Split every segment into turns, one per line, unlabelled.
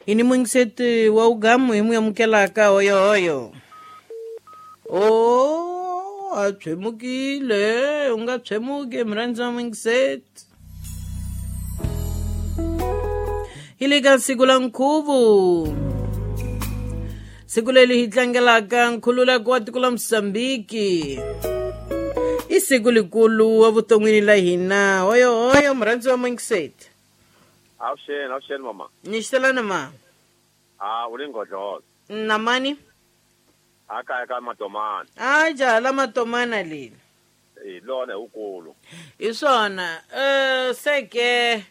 Hi ni muyingiseti wa ugamu hi mu amukelaka hoyohoyo. O a tshwemukile, u nga tshwemuki murhandzi wa muyingiseti. Hi le ka siku la nkhuvo, siku leri hi tlangelaka nkhululeko wa tiko la Mosambiki, i siku likulu evuton'wini la hina. Hoyohoyo murhandzi wa muyingiseti.
Avuxeni, avuxeni mama.
Ni xitelana ma?
Ah, u le Nghodlolo.
Na mani?
A kaya ka Matomana.
A jaha la Matomana leli.
Hi lona hi wukulu.
Hi swona. Seke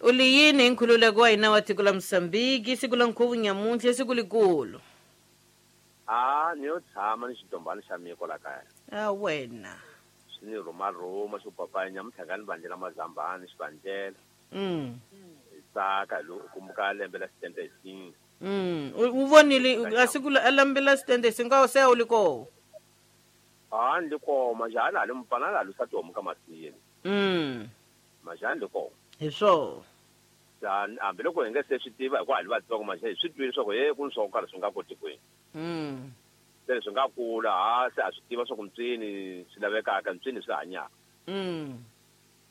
u li yini hi nkhululeko wa hina wa tiko la Mosambiki, siku la nkhuvo nyamuntlha, i siku likulu?
A ni yo tshama ni xidombani xa mina kwala kaya.
A wena.
Swi ni rhumarhuma xo papaya nyamuntlha nga ni vandlela mazambani xivandlela. Hi tsaka hi loko kumbuka lembe la 75.
U vonile a siku la lembe la 75 se a wu li koho?
A ni li koho, majani a li mupfana a li lusa tihomu ka masini. Majani li koho.
Hi swona.
Hambiloko hi nga se swi tiva hikuva hi li vatsongo maje hi swi twile leswaku he ku ni swo karhi swi nga koti kwini. Se swi nga kula ha se a swi tiva swa ku ntswini swi lavekaka, ntswini swi hanyaka.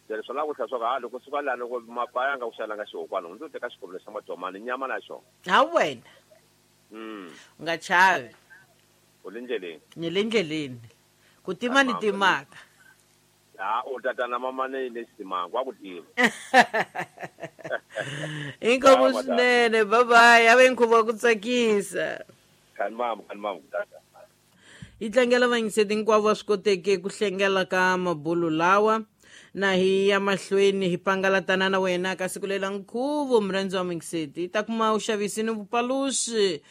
Se swi lava ku tlhela swa ku ha loko suka laha loko mapa ya nga ku xalanga xihokwana ndzi teka xikorolo xa matomani nyama na xona.
Ha wena. U nga chavi.
U le ndleleni.
Ni le ndleleni. Ku tima ni timaka.
Ha u tatana mama ni le xitimanga wa ku tiva.
Inkomu swinene, bye bye. A ve nkhuvo wa ku tsakisa.
Khani mama, khani mama tata.
Hi tlangela vayingiseti hinkwavo va swi koteke ku hlengela ka mabulu lawa na hi ya mahlweni hi pangalatana na wena ka siku lela nkhuvo murhandzi wa muyingiseti. Hi ta kuma vuxavisi ni vupaluxi.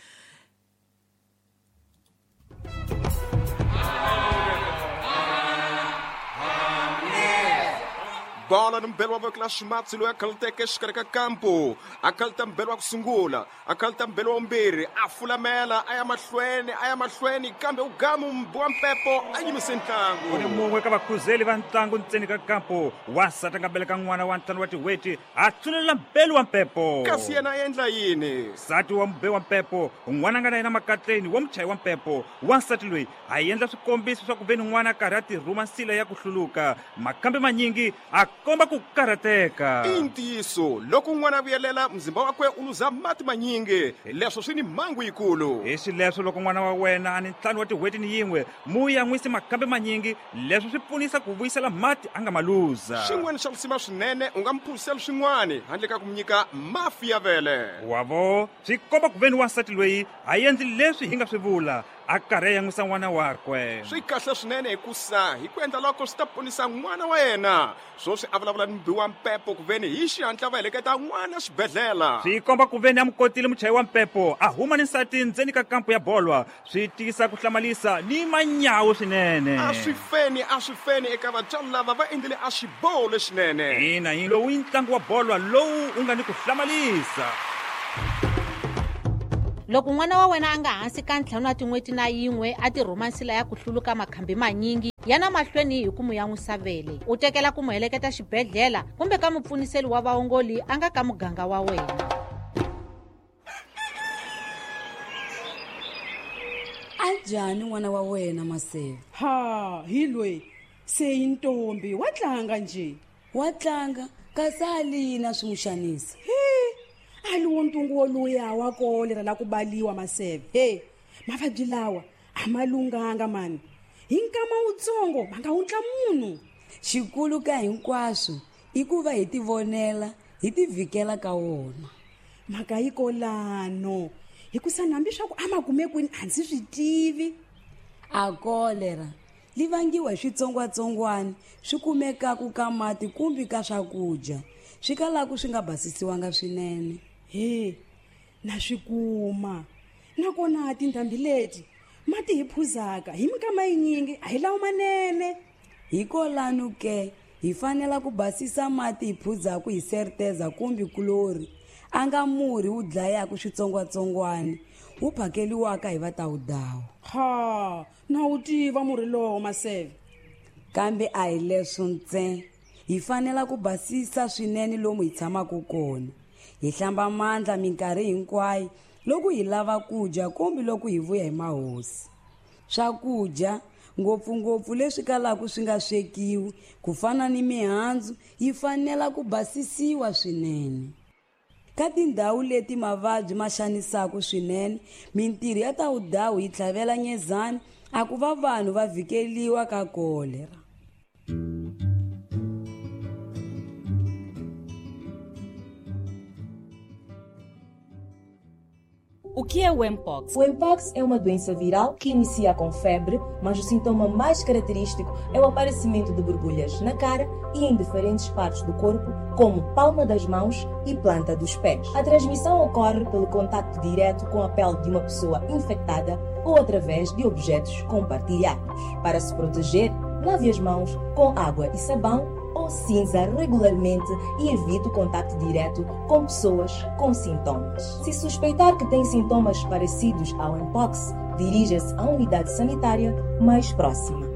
Bola ni mbelo wa voko la ximatsi loyi a khaluteke exikarhi ka kampu, a khaluta mbelo wa ku sungula, a khaluta mbelo wa vumbirhi, a fulamela a ya mahlweni, a ya mahlweni, kambe u gamu mbi wa mpepo a yimise ntlangu.
U ni mun'we ka vakhuzeli va ntlangu ntseni ka kampu, wansati a nga beleka n'wana wa 5 wa tin'hweti, a tsunelela mbelu wa mpepo.
Kasi yena a endla yini?
Nsati wa mube wa mpepo, n'wana a nga na yena makatleni wa muchayi wa mpepo, wansati loyi a endla swikombiso swa ku ve ni n'wana a karhi a tirhuma nsila ya ku hluluka, makhambi manyingi a komba ku karhateka.
I ntiyiso, loko n'wana a vuyelela, muzimba wakwe u luza mati manyingi, leswo swi ni mhangu yikulu.
Hi xileswo loko n'wana wa wena a ni 5 wa tin'hweti ni yin'we, mu yan'wisi makhambi manyingi, leswo swi pfunisa ku vuyisela mati a nga ma luza.
Xin'wana xa risima swinene, u nga mu phuzisela swin'wana handle ka ku mu nyika mafi ya vele.
Wavo, swi komba ku ve ni wansati loyi a endli leswi hi nga swi vula, a karhi a yan'wisa n'wana wakwe.
Swi kahle swinene hikusa hi ku endla loko swi ta ponisa n'wana wa yena. Swoswi a vulavula ni mubi wa mpepo ku veni hi xihatla va heleketa n'wana xibedhlele.
Swi komba ku veni a mu kotile muchayi wa mpepo a huma ni nsati ndzeni ka kampu ya bolwa, swi tiyisa ku hlamalisa ni manyawu swinene.
A swi feni, a swi feni eka vatswari lava va endlile a xiboho lexinene.
Ina, hi lowu i ntlangu wa bolwa lowu wu nga ni ku hlamalisa.
Loko n'wana wa wena a nga hansi ka 5 wa tin'hweti na yin'we a tirhuma nsila ya ku hluluka makhambi manyingi, yana mahlweni hi ku mu yan'wisa vele, u tekela ku mu heleketa xibedhlele kumbe ka mupfuniseli wa vaongoli a nga ka muganga wa wena.
A njhani n'wana wa wena Maseve?
Ha, hi loyi se i ntombi, wa tlanga nje.
Wa tlanga, kasi a li yini a swi n'wi xanisa?
He, a li wo ntungu woluya wa kolera la ku baliwa Maseve. He, mavabyi lawa a ma lunghanga mani. Hi nkama wutsongo ma nga wundla munhu.
Xikulu ka hinkwaswo i ku va hi tivonela, hi tivhikela ka wona.
Mhaka yi kolano, hikusa hambi swa ku a ma kume kwini a ndzi swi tivi.
A kolera li vangiwa hi switsongwatsongwana swi kumekaka ka mati kumbe ka swakudya swi kalaka swi nga basisiwanga swinene.
He, na swi kuma. Nakona tindhambi leti mati hi phuzaka hi minkama yinyingi a hi lawo manene.
Hikolano ke hi fanela ku basisa mati hi phuzaka hi serteza kumbe kulori, a nga murhi wu dlayaka switsongwatsongwana wu phakeliwaka hi vatawudawu.
Ha, na wu tiva murhi lowo Maseve.
Kambe a hi leswo ntsena, hi fanela ku basisa swinene lomu hi tshamaka kona. Hi hlamba mandla minkarhi hinkwayo loko hi lava ku dya kumbe loko hi vuya hi mahosi. Swakudya ngopfungopfu leswi kalaka swi nga swekiwi ku fana ni mihandzu yi fanela ku basisiwa swinene. Ka tindhawu leti mavabyi ma xanisaka swinene, mintirho ya ta vudawu yi tlhavela nyezani a ku va vanhu va vhikeliwa ka kolera.
O que é o Mpox?
O Mpox é uma doença viral que inicia com febre, mas o sintoma mais característico é o aparecimento de borbulhas na cara e em diferentes partes do corpo, como palma das mãos e planta dos pés. A transmissão ocorre pelo contato direto com a pele de uma pessoa infectada ou através de objetos compartilhados. Para se proteger, lave as mãos com água e sabão ou cinza regularmente e evite o contato direto com pessoas com sintomas. Se suspeitar que tem sintomas parecidos ao Mpox, dirija-se à unidade sanitária mais próxima.